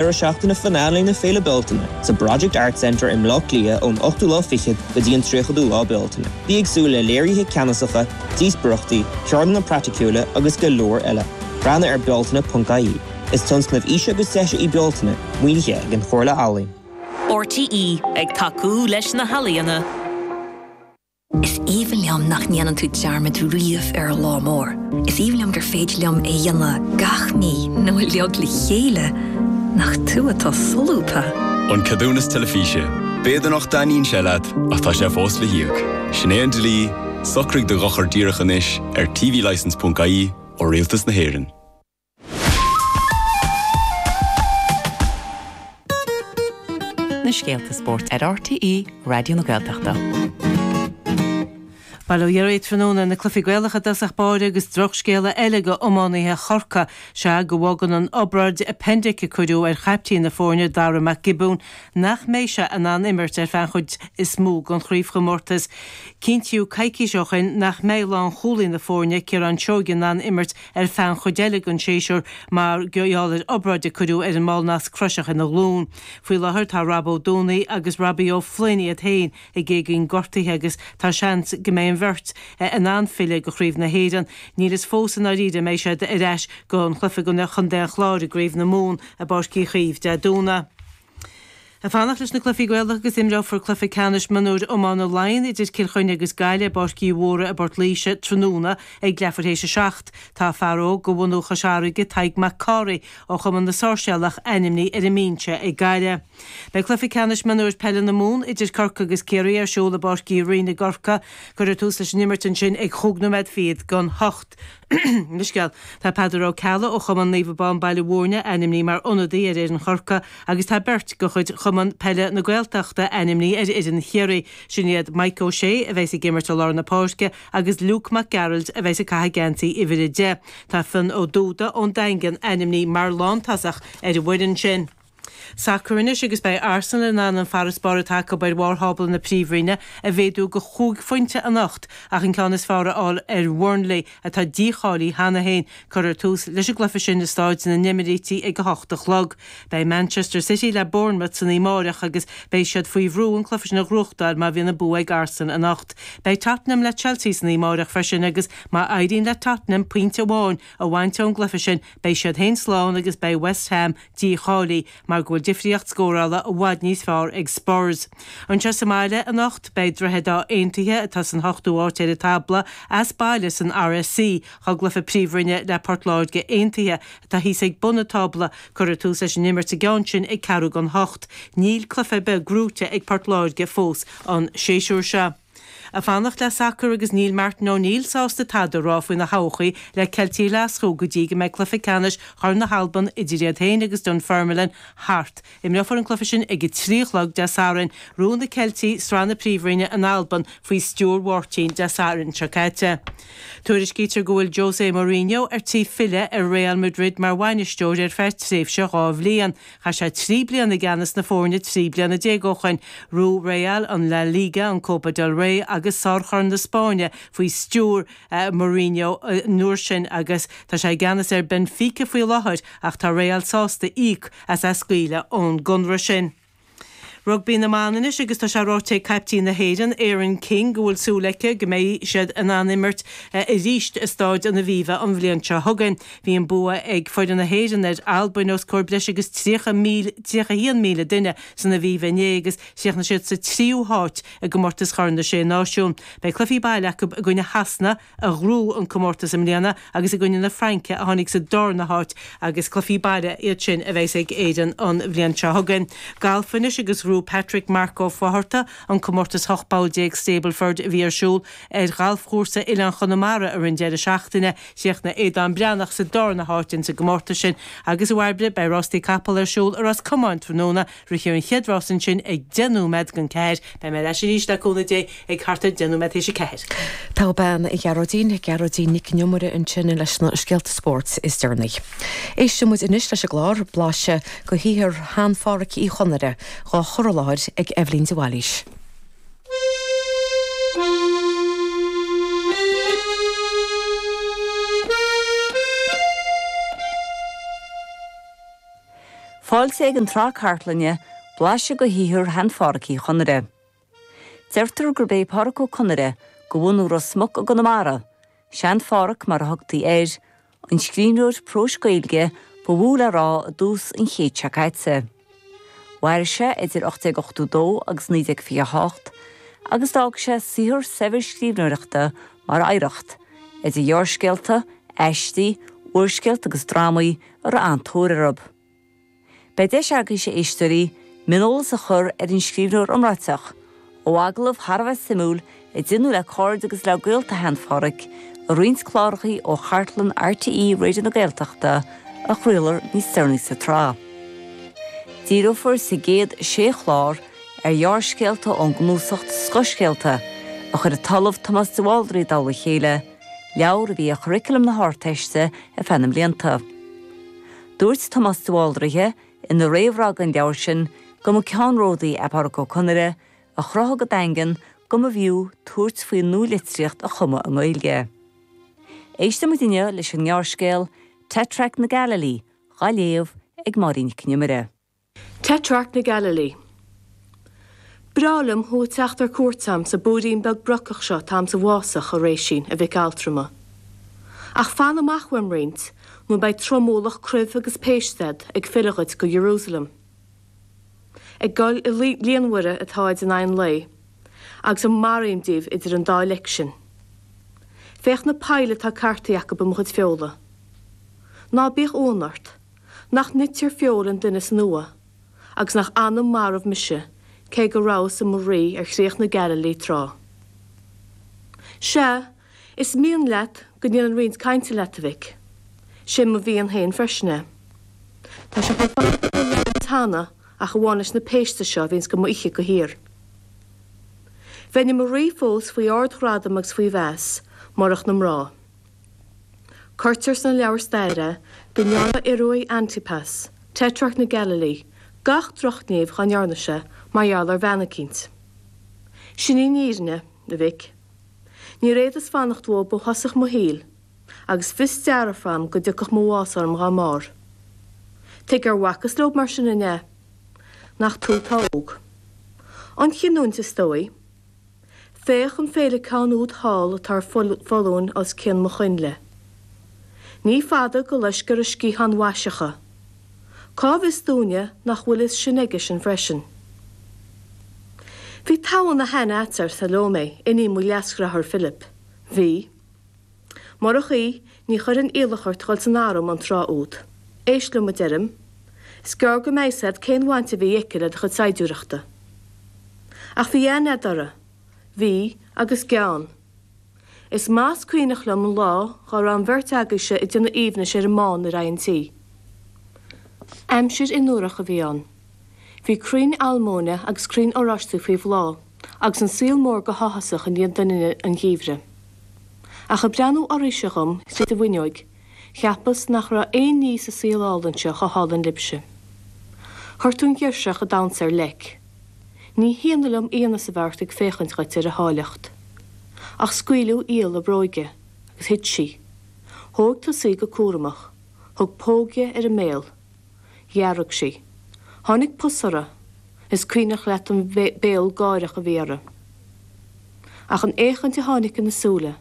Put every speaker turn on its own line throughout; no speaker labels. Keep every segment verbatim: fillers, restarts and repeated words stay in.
Deireadh seachtaine finale na Féile Bealtaine sa Project Art Centre i mBaile Átha Cliath ón ochtú lá fichead go dtí an tríochadú lá Bealtaine. Bí ag súil le léirithe ceannasacha, díospóireachtaí, ceardlanna praiticiúla agus go leor eile. Breathnaigh ar bealtaine.ie. Is tionscnamh fhís agus deise í Bealtaine, maoinithe ag an Chomhairle Ealaíon.
RTÉ ag tacú leis na healaíona.
Is aoibhinn liom nach ndéanann tú dearmad riamh ar an lá mór. Is aoibhinn liom gur féidir liom é dhéanamh gach mí nó uilig le chéile nach tú atá solúbtha.
An ceadúnas teilifíse. B'fhéidir nach dtaitníonn sé leat ach tá sé fós le híoc. Sin é an dlí, socraigh do dhochar díreach anois ar tvlicence.ie ó Rialtas na hÉireann.
Na scéalta spóirt ar RTÉ Raidió na Gaeltachta.
Bail ó Dhia oraibh tráthnóna na cluichí Gaelacha i dtosach báire agus drochscéala eile go iománaithe Chorcaí sea go bhfágann an obráid appendix a cuireadh ar chaiptín na foirne Dara Mac Giobúin nach mbeidh sé in ann imirt ar feadh an chuid is mó den chraobhchomórtas. Cinntíodh coicís ó shin nach mbeidh lánchúlaí na foirne Ciarán Seoighe in ann imirt ar feadh an chuid eile den séasúr mar gheall ar obráid a cuireadh ar an mball nasc croiseach ina ghlúin. Faoi láthair tá Rob Ó Dúnaí agus Robbie Ó Floinn iad féin ag éagaoin gortaithe agus tá seans go mbeidh an bheirt in ann filleadh go Craobh na hÉireann. Níl fhios fós i ndáiríre mbeidh siad ar ais don chluiche i gcoinne Chontae an Chláir i gCraobh na Mumhan i bPáirc Uí Chaoimh Dé Domhnaigh. Ag fanacht leis na cluichí Gaelacha agus imreofar cluiche ceannais mionúir iomána Laighean idir Cill Chainnigh agus Gaillimh i bPáirc Uí Mhórdha i bPort Laoise tráthnóna ag leathuair théis a seacht. Tá fear óg de bhunú Chois Fharraige, Tadhg Mac Cárthaigh ó Chumann na Sáirséalach ainmnithe ar an mbinse ag Gaillimh. Beidh cluiche ceannais mionúir peile na Mumhan idir Corcaigh agus Ciarraí ar siúl i bPáirc Uí Rinn i gCorcaigh. Cuirfear tús leis an imirt ansin ag chúig nóiméad fichead don hocht. Mo leithscéal. Tá Peadar Ó Ceallaigh ó Chumann Naomh Abán Baile Mhúirne ainmnithe mar ionadaí ar fhoireann Chorcaí agus tá beirt de chuid Chumann Peile na Gaeltachta ainmnithe ar fhoireann Chiarraí. Sin iad Mike Ó Sé a bheas ag imirt i lár na páirce agus Luke Mac Gearailt a bheas ag caitheamh geansaí uimhir a deich. Tá Fionn Ó Dúda ón Daingean ainmnithe mar lántosach ar an bhfoireann sin. Sacar anois agus beidh Arsenal in ann an farasbarr atá acu ar bharr thábla na Príomhroinne a mhéadú go chúig phointe anocht ach an ceann is fearr a fháil ar Bhurnley atá dícháilithe cheana féin. Cuirfear tús leis an gcluiche sin i Stáid na nEimírící ag a hocht a chlog. Beidh Manchester City le Bournemouth san oíche amárach agus beidh siad faoi bhrú an cluiche sin a ghnóthachtáil má bhíonn an bua ag Arsenal anocht. Beidh Tottenham le Chelsea san oíche amárach freisin agus má éiríonn le Tottenham pointe amháin a bhaint ón gcluiche sin beidh siad féin slán agus beidh West Ham dícháilithe mar go bhfuil difríocht scórála i bhfad níos fearr ag Spurs. Anseo sa mbaile anocht beidh Droichead Átha Aontaithe atá san hochtú háit ar an tábla as baile san RSC dá gcluiche Príomhroinne le Port Láirge Aontaithe atá thíos ag bun an tábla. Cuirfear tús leis an imirt sa gceann sin ag ceathrú don hocht. Níl cluiche ar bith gnóite ag Port Láirge fós an séasúr seo. Ag fanacht le sacar agus níl Martin O'Neill sásta tada a rá faoina thodhchaí le Ceiltigh Ghlaschú go dtí go mbeidh cluiche ceannais Chorn na hAlban idir iad féin agus Dunfermline thart. Imreofar an cluiche sin ag a trí a chlog Dé Sathairn. Ghnóthaigh na Ceiltigh sraith na Príomhroinne in Albain faoi stiúir Mháirtín Dé Sathairn seo caite. Tuairiscítear go bhfuil Jose Mourinho ar tí filleadh ar Real Madrid mar bhainisteoir ar feadh tréimhse dhá bhliain. Chaith sé trí bliana i gceannas na foirne trí bliana déag ó shin. Ghnóthaigh Real an La Liga, an Copa del Rey agus Sár-Chorn na Spáinne faoi stiúir Mourinho an uair sin agus tá sé i gceannas ar Benfica faoi láthair ach tá Real sásta íoc as é a scaoileadh ón gconradh sin. Rugbaí na mban anois agus tá sé ráite ag caiptín na hÉireann, Erin King, go bhfuil súil aici go mbeidh siad in ann imirt arís i Stáid an Aviva an bhliain seo chugainn. Bhí an bua ag foireann na hÉireann ar Albain os comhair breis agus tríocha míle, tríocha haon míle duine san Aviva inné agus chríochnaigh siad sa tríú háit i gcomórtas Chorn na Sé Náisiún. Beidh cluichí baile acu i gcoinne Shasana, a ghnóthaigh an comórtas i mbliana, agus i gcoinne na Fraince, a tháinig sa darna háit, agus cluichí baile iad sin a bheas ag Éirinn an bhliain seo chugainn. Galf anois agus ghnóthaigh Patrick Mark Ó Fátharta an comórtas ocht bpoll déag Stableford a bhí ar siúl ar ghalfchúrsa Oileán Chonamara i rith an deireadh seachtaine. Chríochnaigh Aodán Breathnach sa darna háit ins an gcomórtas sin. Agus a Bhairbre, beidh rástaí capall ar siúl i Ros Comáin tráthnóna. Rithfear an chéad rás ansin ag deich nóiméad don ceathair. Beidh mé ar ais arís le cúnamh Dé ag thart ar deich nóiméad théis a ceathair.
Togha bean, a Ghearóidín, Gearóidín Nic an Iomaire ansin leis na scéalta spóirt is deireanaí. Éisteann muid anois leis an gclár, blaiseadh de shaothar shean-Phádhraic Uí Chonaire, dhá chur i láthair ag Eibhlín de Bhailís.
Fáilte ag an tsraith cartlainne blaiseadh de shaothar shean-Phádhraic Uí Chonaire. Deirtear gurb é Pádraic Ó Conaire de bhunadh Ros Muc i gConamara, Sean-Phádhraic mar a thugtaí air, an scríbhneoir próis Gaeilge ba mhó le rá i dtús an chéid seo caite. Mhair sé idir ocht déag ochtó dó agus naoi déag fiche a hocht agus d'fhág sé saothar saibhir scríbhneoireachta mar oidhreacht, idir ghearrscéalta, aistí, úrscéalta agus drámaí a raibh an-tóir orthu. Beidh deis agaibhse, a éisteoirí, mioneolas a chur ar an scríbhneoir iomráiteach, ó agallamh thar a bheith suimiúil a deineadh le cairde agus le gaolta shean-Phádhraic i roinnt cláracha ó chartlann RTÉ Raidió na Gaeltachta a chraolfar níos deireanaí sa tsraith. Díreofar sa gcéad sé chlár ar ghearrscéalta ón gcnuasach Scothscéalta a chuir an tOllamh Tomás de Bhaldraithe i dtoll a chéile, leabhar a bhí ar churaclam na hArdteiste ar feadh na mblianta. Dúirt Tomás de Bhaldraithe ina réamhrá don leabhar sin go mba ceannródaí é Pádraic Ó Conaire a chruthaigh go daingean go mb'fhiú tabhairt faoi nualitríocht a chumadh i nGaeilge. Éistfidh muid inniu leis an ngearrscéal Tetrarch na Galilee, dhá léamh ag Máirín Nic an Iomaire.
Tetrarch na Galilee. Breá liom thú a teacht ar cuairt a'm sa bpúirín beag brocach seo atáim sa bhfásach, a Réisín, a mhic altrama. Ach fan amach uaim roinnt, nó beidh tromualach cruimh agus péiste a'd ag filleadh dhuit go Jerusalem. Ag gol i líonmhaire atáid in aghaidh an lae, agus maraím díobh idir an dá leic sin. Féach na poill atá cartaithe acu i mo chuid feola. Ná bíodh uamhan ort. Nach nitear feoil an duine san uaigh, agus nach anam marbh mise, cé go rabhas i mo rí ar chríoch na Galilee tráth. Sea, is mian leat go ndéanfainn roinnt cainte leat, a mhic. Sé mo mhian féin freisin é. Tá sé chomh fada ó labhairt cheana ach amháin leis na péiste seo a bhíonns go m'ithe go shíor. Bheinn i mo rí fós faoi ardghradam agus faoi mheas, murach na mná. Cuirtear sna leabhair staire go ndearna Iorua Antipas, Tetrarch na Galilee, gach drochghníomh dhá ndearna sé mar gheall ar bhean eicínt. Sin í an fhírinne, a mhic. Níor fhéadas fanacht uathub ó thosach mo shaoil, agus fios dearfa a'm go dtiocfadh mo bhás orm dhá mbarr. Tuige ar bhacas leob mar sin, an ea? Nach tú atá óg. An chinniúint, is dóigh. Féach an féileacán úd thall atá ar foluain os cionn mo choinnle. Ní fada go loiscfear a sciatháin mhaiseacha. Cá bhfios dúinne nach bhfuil a fhios sin aigesean freisin? Bhí togha na haithne a'dsa ar Salómé, iníon mo leasdhearthár Philip. Bhí. Murach í, ní chuirfinn iallach ort dhul san arm an tráth úd. Éist liom, a deirim. Is gearr go mbeidh 'fhios a'd cén bhaint a bhí aici le do chuid saighdiúireachta. Ach bhí aithne a'd uirthi. Bhí, agus gean. Is maith is cuimhneach liom an lá dhá raibh an bheirt agaibhse ag déanamh aoibhnis ar an mbán ar aghaidh an tí. Aimsir fhionnuarach a bhí ann. Bhí crainn almóinne agus crainn oráistí faoi bhláth, agus an saol mór go háthasach i ndiaidh doininne an gheimhridh. Ach ag breathnú oraibhse dhom tríd an bhfuinneoig, cheapas nach raibh aon ní sa saol álainn seo chomh hálainn libhse. Chuir tú an ghirseach ag damhsa ar leic. Ní hionadh liom iontas a bheith ort ag féachaint dhuit ar a háilleacht. Ach scaoileadh iall a bróige, agus thit sí. Thóg tusa í go cúramach, thug póg di ar an mbéal. Dhearg sí. Tháinig pus uirthi. Is cuimhneach leat an béal gáireach a bhí uirthi. Ach an fhéachaint a tháinig ina súile.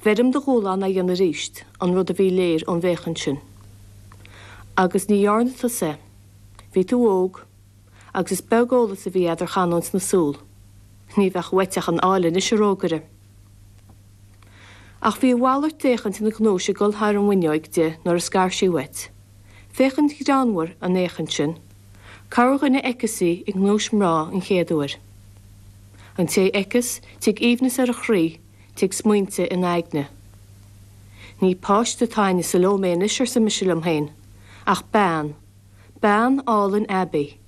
Bheirim de dhúshlán é a dhéanamh arís, an rud a bhí léir ón bhféachaint sin. Agus ní dhearna tusa é. Bhí tú óg, agus is beag eolas a bhí a'd ar chanúint na súl. Ní bheadh uait ach an áille anois, a rógaire. Ach bhí a mhalairt d'fhéachaint ina gnúis ag dul thar an bhfuinneoig di nuair a scar sí uait. Féachaint ghreannmhar an fhéachaint sin. Corrdhuine a fheiceas í i ngnúis mná an chéad uair. An té a fheiceas, tig aoibhneas ar a chroí, tig smaointe ina aigne. Ní páiste atá a'inne Salómé anois, arsa mise liom féin, ach bean, bean álainn aibí,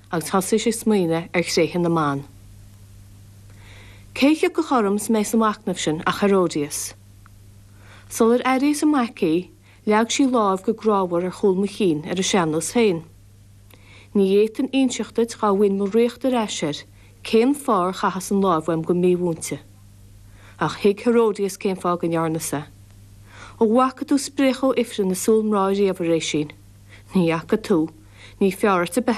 agus thosaíos ag smaoineamh ar thréithe na mban. Cé thiocfadh orm 's mé sa mhachnamh sin ach Herodias. Sular airíos i m'aice í, leag sí lámh go grámhar ar chúl mo chinn ar a sean-nós féin. Ní fhéadfainn inseacht duit dhá bhfaighinn mo ríocht ar ais air cén fáth ar chaitheas an láimh uaim go mímhúinte. Ach thuig Herodias cén fáth go ndearnas é. An bhfaca tú spréachadh ó ifreann i súil mná riamh, a Réisín? Ní fhaca tú. Ní fearr duit a bheith